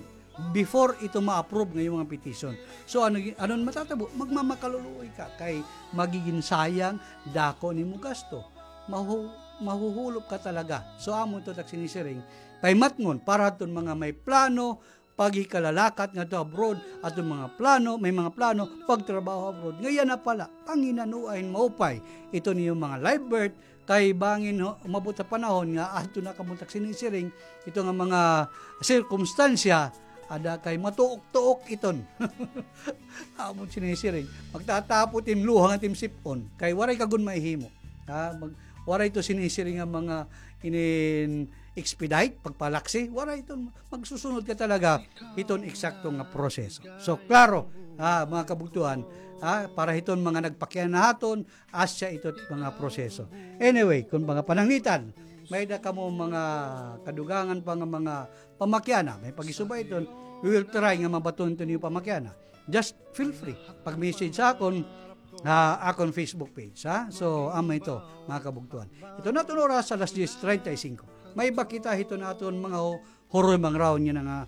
before ito ma-approve nga imo mga petition. So, ano, ano an matatabo? Magmamakaluluoy ka kay magigin sayang, dako nimo gasto. Mahu-, mahuhulop ka talaga. So, amo ito tak sinisiring, pahimatngon para adton mga may plano paghikalalakaw ngadto abroad, adton mga plano, may mga plano pagtrabaho abroad. Nga yana pa la, panginanoa hin maupay iton iyo mga live birth, kay bangin ho, umabot ha panahon nga adto na kamo tak sinisiring, ito nga mga sirkumstansya, ada kay matuok-tuok iton. Amo sinisiring, magtatapot it im luha ngan it im sip-on, kay waray ka gud mahihimo. Ha, mag-, waray ito sinisiring nga mga inin-expedite, pagpalaksi, waray ito, magsusunod ka talaga iton eksakto nga proseso. So, klaro, ha, mga kabugtoan, ha, para hiton mga nagpakiana ha aton, asya ito mga proseso. Anyway, kun mga pananglitan, may-ada kamo mga kadugangan pa nga mga pamakiana, may paghisubay iton, we will try nga mabaton iton iyo pamakiana. Just feel free, pag-message ha akon, ha akon Facebook page, ha? So, amo ito, mga kabugtoan. Ito na aton oras, alas diyes treinta y cinco. May-ada kita hiton aton mga hu-, huroy mangrahon yana nga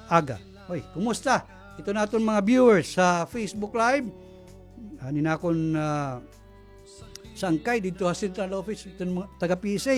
aga. Hoy, kumusta? Ito na aton mga viewers sa Facebook Live. Ani na akon, ah, sangkay didto ha central office, iton mga taga P S A.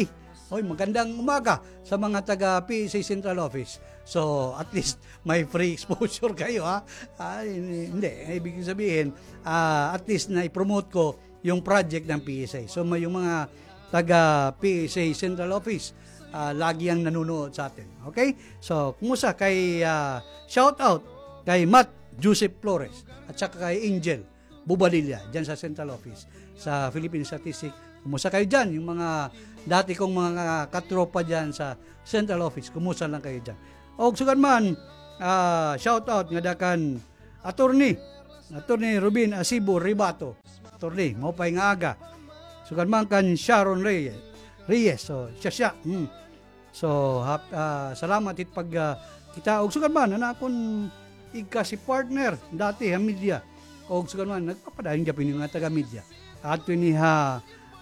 Hoy, magandang umaga sa mga taga P S A central office. So, at least may free exposure kayo, ha? Ah, hindi, hindi. Ibig sabihin, ah, at least na-promote ko yung project ng P S A. So, may, yung mga taga P S A central office, ah, lagi yang nanonood sa atin. Okay? So, kumusta kay, ah, shout out kay Matt Joseph Flores, at saka kay Angel Bubadilla, dyan sa Central Office, sa Philippine Statistic. Kumusta kayo dyan? Yung mga dati kong mga katropa dyan sa Central Office, kumusta lang kayo dyan? Og sugad man, ah, shout out ngada kan Attorney, Attorney Rubin Asibo Ribato. Attorney, maupay nga aga. Sugad man kan Sharon Reyes. Reyes, so, siya, siya. Hmm. So, hap-, ah, salamat hit pag, ah, kita. Og sugad man, an akon igkasi partner, dati ha media. Og sugad man, nagpapadayon gihapon ini nga taga media. Adto ini ha,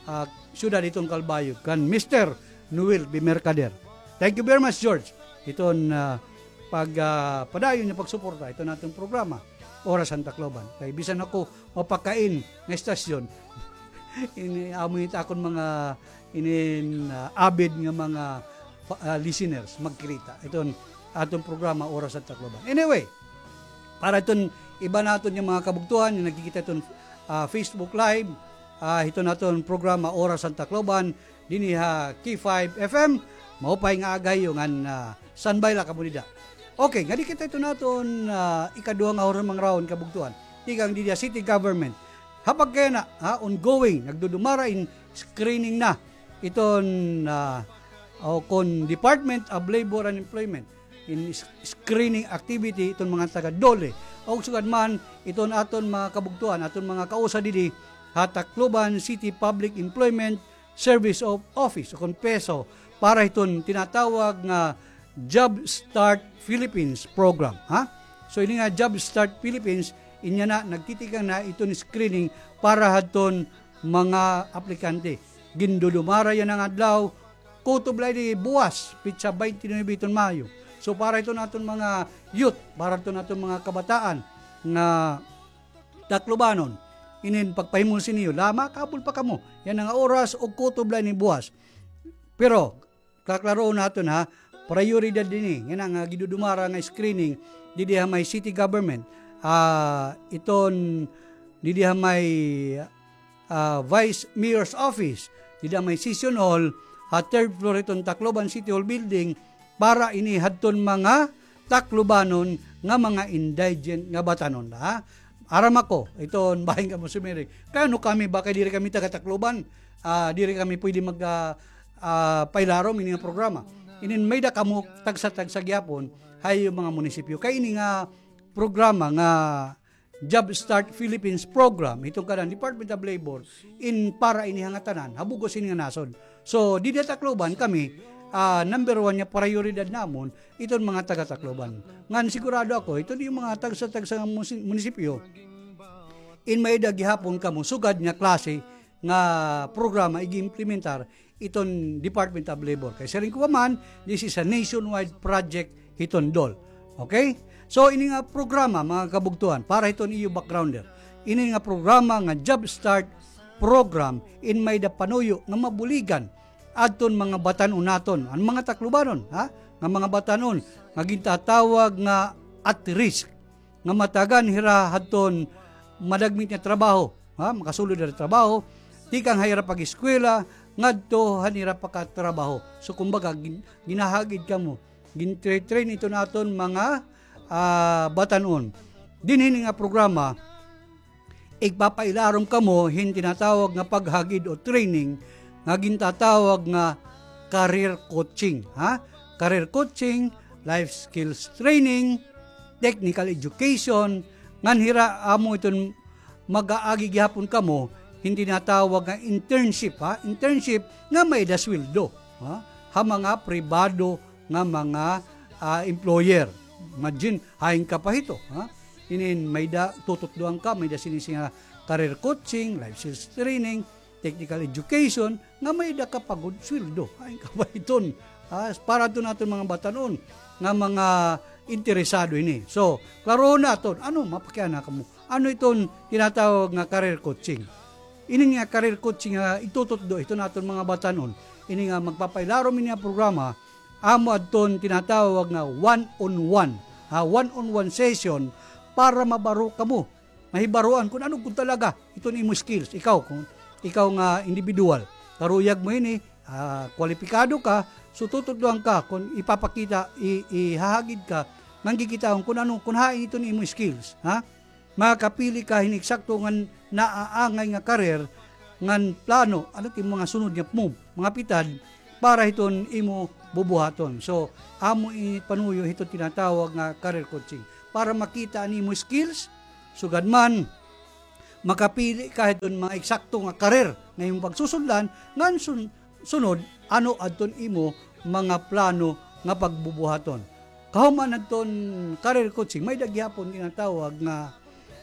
ah, siyudad hiton Calbayog, kan Mister Noel B. Mercader. Thank you very much, George. Hiton, ah, pag, ah, padayon nga pagsuporta hiton aton programa, Oras han Tacloban. Kay bisan ako mapakain nga estasyon, ini, amo it akon mga inin, ah, avid nga mga fa-, ah, listeners, magkirita. Iton aton programa, Oras han Tacloban. Anyway, para iton iba naton nga mga kabugtoan, nga nagkikita iton, ah, Facebook Live, ah, hiton aton programa, Oras han Tacloban, dinhi ha K five F M, maupay nga aga ha iyo ngan, ah, standby la kamo dida. Okay, ngadi kita iton aton, ah, ikaduha nga Oras han Tacloban, kabugtoan. Tikang didi ha city government. Ha pagkayana, ha, ongoing, nagdudumara in screening na iton, ah, o kon Department of Labor and Employment, in s-, screening activity iton mga taga DOLE. Og sugad man, iton aton mga kabugtoan, aton mga kausa didi ha Tacloban City Public Employment Service of Office, o kon PESO, para hiton tinatawag nga Job Start Philippines program, ha? So, ini nga Job Start Philippines, inya na, nagtitikang na iton screening para hadton mga aplikante. Gindudumara yana nga adlaw, kutob la ini buwas, pitsa twenty-nine iton Mayo. So, para iton aton mga youth, para iton aton mga kabataan nga Taclobanon, inin pagpahimusin niyo, la, makahabol pa kamo yana nga oras og kutob la ini buwas. Pero, kaklaroon naton, ha, prayoridad ini yana nga gidudumara nga screening didi ha may city government, ah, iton didi ha may, ah, Vice Mayor's Office, didi ha may Session Hall, ha third floor iton Tacloban City Hall Building, para ini hadton mga Taclobanon nga mga indigent nga batanon, ha? Aram ako, iton bahin kamo sumiring. Kay ano kami, ba kay diri kami taga Tacloban, ah, diri kami pwede mag, ah, ah, pailarom ini nga programa. Inin may-ada kamo tagsa-tagsa gihapon ha iyo mga munisipyo. Kay ini nga programa nga Job Start Philippines program, iton kanan Department of Labor, in para ini ha ngatanan, ha bug-os ini nga nasod. So, didi ha Tacloban kami, ah, number one nga prayoridad namon, iton mga taga Tacloban. Ngan sigurado ako, iton iyo mga tagsa-tagsa nga musi-, munisipyo, in may-ada gihapon kamo sugad nga klase nga programa ig-implementar iton Department of Labor. Kay siring ko pa man, this is a nationwide project hiton DOLE. Okay? So, ini nga programa, mga kabugtoan, para hiton iyo backgrounder. Ini nga programa nga Job Start Program, in may-ada panuyo nga mabuligan adton mga batan-on naton, an mga Taclobanon, ha? Nga mga batan-on nga gintatawag nga at risk, nga matagan hira hadton madagmit nga trabaho, ha? Makasulod hira trabaho, tikang ha ira pag-eskwela ngadto han ira pakatrabaho. So, kumbaga, gin-, ginahagid kamo, gin-train iton aton mga, ah, batan-on. Dinhi ini nga programa, igpapailarom kamo hin tinatawag nga paghagid o training nga gintatawag nga career coaching, ha? Career coaching, life skills training, technical education, ngan hira amo iton mag-aagi gihapon kamo hin tinatawag nga internship, ha? Internship nga may-ada sweldo, ha? Ha mga pribado nga mga, ah, employer. Imagine, hain ka pa hito, ha? Inin may-ada tututdoan ka, may-ada sini nga career coaching, life skills training, technical education, nga may-ada ka pa gud sweldo. Hain ka pa hiton, ha? Para adton aton mga batan-on nga mga interesado ini. So, klarohon naton, ano, mapakiana kamo. Ano iton tinatawag nga career coaching? Ini nga career coaching nga itututdo hiton aton mga batan-on. Ini nga magpapailarom ini nga programa, amo adton tinatawag nga one-on-one, ha, one-on-one session para mabaro kamo, mahibaroan kun ano gud talaga iton imo skills. Ikaw, kun ikaw nga individual, karuyag mo ini, ah, kwalipikado ka, so tututdoan ka kun ipapakita, i-, ihahagid ka ngan kikitaon kun ano, kun hain iton imo skills, ha? Makapili ka hin eksakto ngan naaangay nga career, ngan plano, ano it imo mga sunod nga move, mga pitad, para hiton imo bubuhaton. So, amo ini panuyo hiton tinatawag nga career coaching. Para makita an imo skills, sugad man, makapili ka hiton mga eksakto nga career nga imo pagsusundan, ngan sun-, sunod, ano adton imo mga plano nga pagbubuhaton. Kahuman adton career coaching, may-ada gihapon tinatawag nga,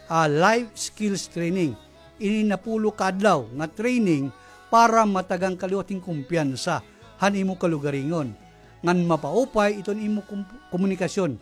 ah, life skills training. Ini napulo ka adlaw nga training para matagan ka liwat hin kumpiyansa han imo kalugaringon. Ngan mapaupay iton imo kum-, komunikasyon.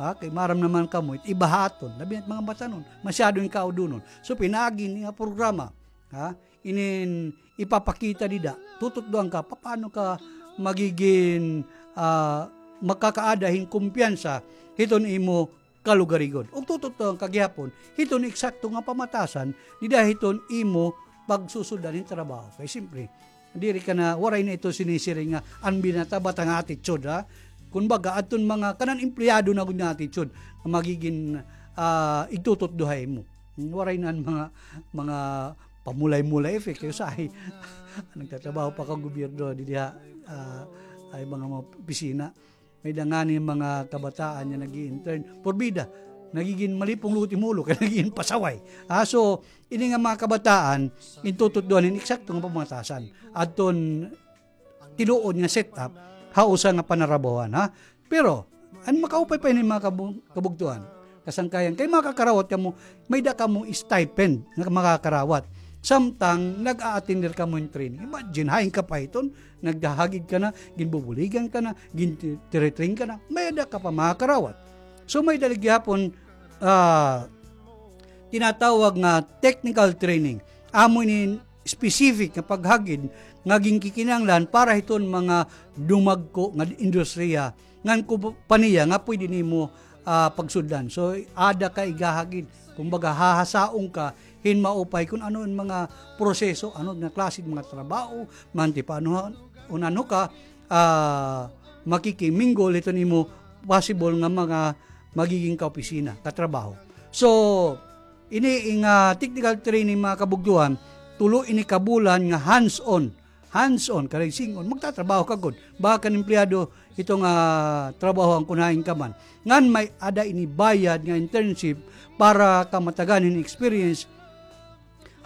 Ha, kay maaram naman kamo, it iba ha aton, labi na it mga batanon, masyado hin kaudonon. So, pinaagi ini nga programa, ha, inin ipapakita dida, tututdoan ka, papaano ka magigin, ah, makakaada hin kumpiyansa hiton imo kalugarigon. Ug tututdoan ka gihapon hiton eksakto nga pamatasan dida hiton imo pagsusuldan hin trabaho. Kay siyempre, diri ka na, waray na ito sinisiring nga an binata-bata nga attitude, ha? Kumbaga, adton mga kanan empleyado na gud nga attitude nga magigin, ah, igtututdo ha imo. Hmm, waray na an mga, mga pamulay-mulay effect. Kay usahay, nagtatrabaho pa ka gobyerno, didi ha, ah, ay mga, mga opisina. May-ada ngani mga kabataan nga nag-i-intern. Porbida, nagigin malipong luot im ulo, kay nagigin pasaway. Ah, so, ini nga mga kabataan, intututdoan hin eksakto nga pamatasan. Adton tinuod nga setup, ha usa nga panarabawan, ha? Pero, an makaupay pa ini mga kabu-, kabugtoan, kasangkayan, kay makakarawat kamo, may-ada kamo stipend nga makakarawat. Samtang nag-a-attender kamo hin training. Imagine, hain ka pa hiton, naghahagid ka na, ginbubuligan ka na, gin-, tinitrain ka na, may-ada ka pa makakarawat. So, may-ada gihapon, ah, tinatawag nga technical training. Amo ini specific nga paghagid nga ginkikinahanglan para hiton mga dumagko nga industriya ngan kumpanya nga pwede nimo, ah, pagsudlan. So, ada ka igahagid. Kumbaga, hahasaon ka hin maupay kun ano an mga proseso, ano nga klase nga mga trabaho, manti pa ano, un-, ano ka, ah, makikimingle hiton imo possible nga mga magiging kaopisina, katrabaho. So, ini nga technical training, mga kabugtuan, tulo ini ka bulan nga hands-on. Hands-on, kanay sing-on, magtatrabaho ka gud. Baka kan empleyado, ito nga trabaho an kun hain ka man. Ngan may-ada ini bayad nga internship para ka matagan hin experience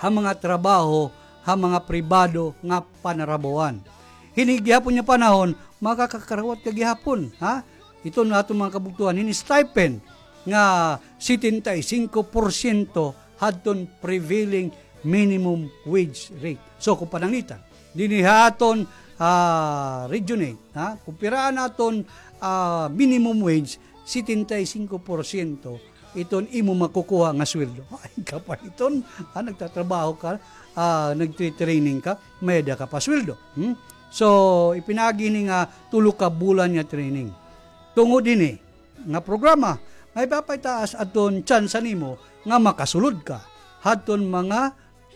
ha mga trabaho, ha mga pribado nga panarabawan. Hini gihapon nga panahon, makakakarawat ka gihapon, ha? Ito na aton mga kabugtuan, hini stipend nga setenta y cinco porsyento hadton prevailing minimum wage rate. So, kung pananglitan, dinhi ha aton, ah, Region eight, ha? Kung pira an aton, ah, minimum wage, setenta y cinco porsyento iton imo makukuha nga sweldo. Ay, kapahiton, ha, nagtatrabaho ka, ah, nagtre-training ka, may-ada ka pa sweldo. Hmm? So, ipinaagi ini nga tulo ka bulan nga training. Tungod hini nga programa, nga ipapataas adton tsansa nimo nga makasulod ka hadton mga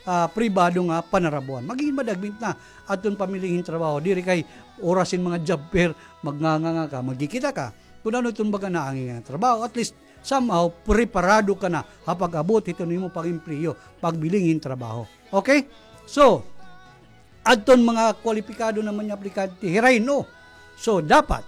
ah, pribado nga panarabuan. Magigin madagmit na adton pamiling hin trabaho. Diri kay oras hin mga job fair, magnganganga ka, magkikita ka. Kun ano iton baga naangay nga trabaho, at least somehow preparado ka na ha pag-abot hiton imo pag-empleyo, pagbiling hin trabaho. Okay? So, adton mga kwalipikado naman nga aplikante, hirain, no? So, dapat,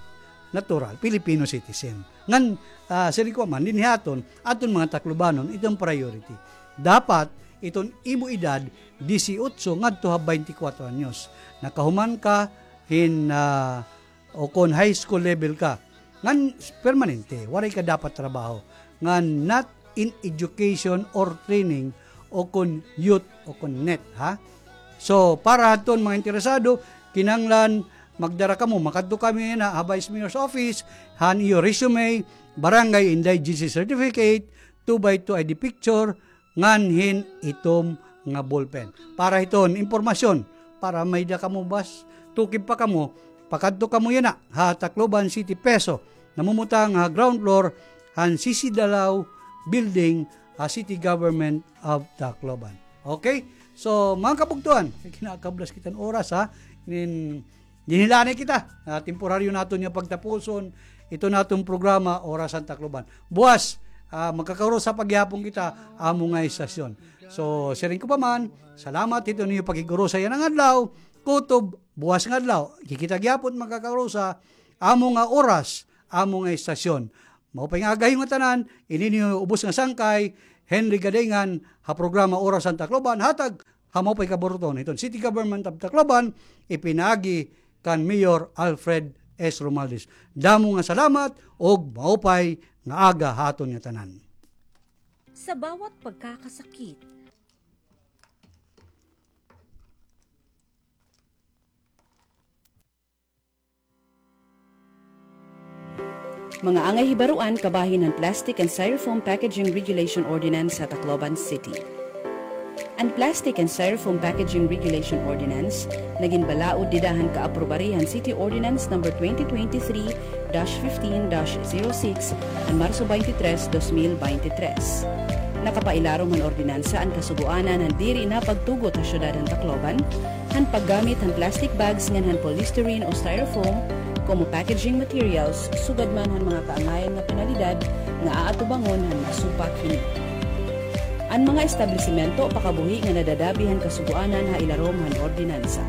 natural, Filipino citizen. Ngan, ah, siring ko man, dinhi ha aton, aton mga Taclobanon, iton priority. Dapat, iton imo edad, disiotso ngadto ha baynte kwatro anyos. Nakahuman ka hin, ah, o kon high school level ka, ngan permanente, waray ka dapat trabaho, ngan not in education or training, o kon youth, o kon net, ha? So, para hadton mga interesado, kinahanglan magdara kamo, makadto kamo yana ha Vice Mayor's office, han iyo resume, Barangay Indigency Certificate, two by two I D picture, ngan hin itom nga ballpen. Para hiton impormasyon, para may-ada kamo bas, tukib pa kamo, pakadto kamo yana ha Tacloban City, PESO, namumutang ha ground floor han C C Dalao Building, ha City Government of Tacloban. Okay? So, mga kabugtuan, kinakablas kita hin oras, ha? Nin, dinhi la anay kita. Ah, temporaryo naton nga pagtapuson, Ito na aton programa, Oras han Tacloban. Buwas, ah, magkakaurusa pa gihapon kita, amo nga estasyon. So, siring ko pa man, salamat hito niyo pakig-urusa yana nga adlaw. Kutob, buwas nga adlaw, kikita gihapon magkakaurusa, amo nga oras, amo nga estasyon. Maupay nga aga ha iyo ngatanan, ini niyo ubos nga sangkay, Henry Gadingan, ha programa Oras han Tacloban, hatag ha maupay kaburuton hiton City Government of Tacloban, ipinaagi kan Mayor Alfred S. Romualdez. Damo nga salamat ug maupay nga aga ha aton ngatanan. Sa bawat pagkakasakit. Mga angay hibaruan kabahin han Plastic and Styrofoam Packaging Regulation Ordinance ha Tacloban City. An Plastic and Styrofoam Packaging Regulation Ordinance nagin balaod dida han kaaprobari han City Ordinance Number twenty twenty-three dash fifteen dash zero six han Marso twenty-three, dos mil beintitrés. Nakapailarom han ordinansa an kasugoanan han diri na pagtugot ha syudad han Tacloban han paggamit han plastic bags ngan han polystyrene o styrofoam komo packaging materials, sugad man han mga kaangayan nga penalidad nga aatubangon han masupak hini. An mga establisimento pakabuhi nga nadadabi han kasugoanan ha ilarom han ordinansa: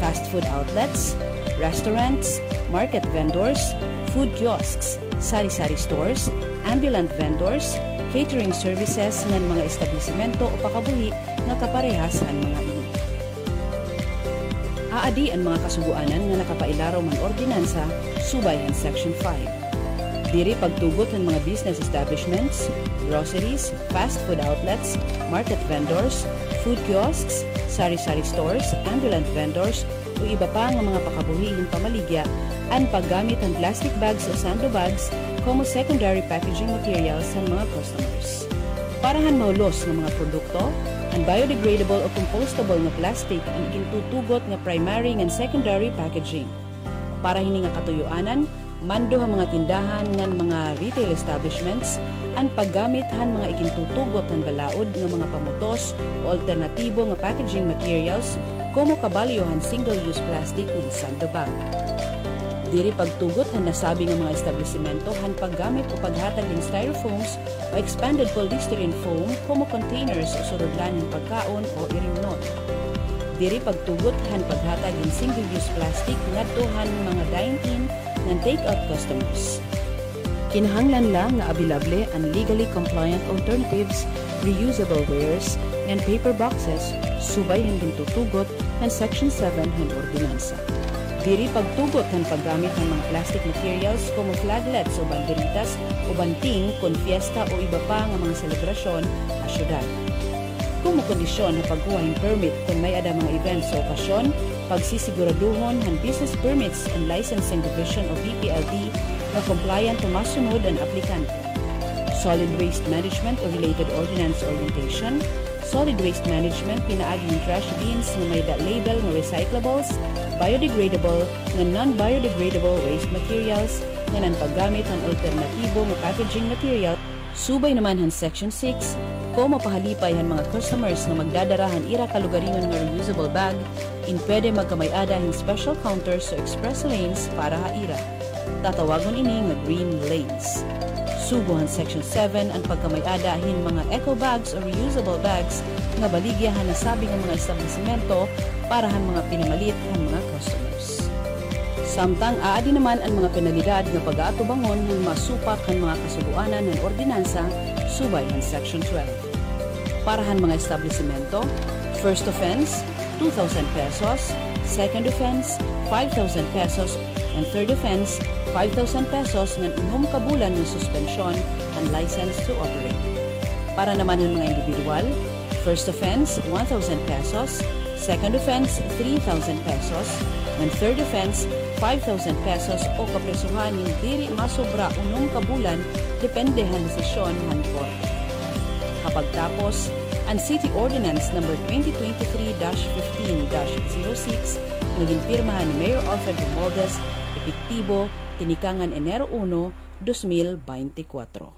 fast food outlets, restaurants, market vendors, food kiosks, sari-sari stores, ambulant vendors, catering services ngan mga establisimento o pakabuhi nga kaparehas han mga ini. Aadi an mga kasugoanan nga nakapailarom han ordinansa subay han Section five. Diri pagtugot han mga business establishments, groceries, fast food outlets, market vendors, food kiosks, sari-sari stores, ambulant vendors, o iba pa nga mga pakabuhi hin pamaligya an paggamit han plastic bags o sando bags komo secondary packaging materials han mga customers. Para han mahulos nga mga produkto, an biodegradable o compostable nga plastic an igintutugot nga primary ngan secondary packaging. Para hini nga katuyoanan, mando ha mga tindahan ngan mga retail establishments an paggamit han mga igintutugot han balaod nga mga pamutos o alternatibo nga packaging materials komo kabalyo han single-use plastic ngan sando bag. Diri pagtugot han nasabi nga mga establisimento han paggamit o paghatag hin styrofoams o expanded polystyrene foam komo containers o surudlan hin pagkaon o irimnon. Diri pagtugot han paghatag hin single-use plastic ngadto han mga dine-in ngan take-out customers. Kinahanglan la nga abilable an legally compliant alternatives, reusable wares, ngan paper boxes, subay han gintutugot han Section seven han ordinansa. Diri pagtugot han paggamit han mga plastic materials komo flaglets o banderitas o banting kon fiesta o iba pa nga mga selebrasyon ha syudad. Komo kondisyon ha pagkuha hin permit kon may-ada mga events o okasyon, pagsisiguraduhon han Business Permits and Licensing Division o B P L D nga compliant o masunod an aplikante. Solid waste management o related ordinance orientation, solid waste management pinaagi hin trash bins nga may-ada label nga recyclables, biodegradable, ngan non-biodegradable waste materials, ngan an paggamit han alternatibo nga packaging material, subay naman han Section six, komo pahalipay han mga customers nga magdadara han ira kalugaringon nga reusable bag, in pwede magkamay-ada hin special counters o express lanes para ha ira. Tatawagon ini nga green lanes. Sugo han Section seven an pagkamay-ada hin mga eco bags o reusable bags nga baligya han nasabi nga mga establisimento para han mga pinamalit han mga customers. Samtang aadi naman an mga penalidad nga pag-aatubangon han masupak han mga kasugoanan han ordinansa subay han Section twelve. Para han mga establisimento, first offense, two thousand pesos, second offense, five thousand pesos, and third offense, five thousand pesos ngan unom ka bulan nga suspensyon han license to operate. Para naman han mga indibidwal, first offense, one thousand pesos, second offense, three thousand pesos, ngan third offense, five thousand pesos o kaprisohan hin diri masobra unom ka bulan, depende han desisyon han korte. Ha pagtapos, an City Ordinance Number twenty twenty-three dash fifteen dash zero six nga ginpirmahan ni Mayor Alfred Romualdez, epektibo tinikangan Enero uno, dos mil beintikwatro.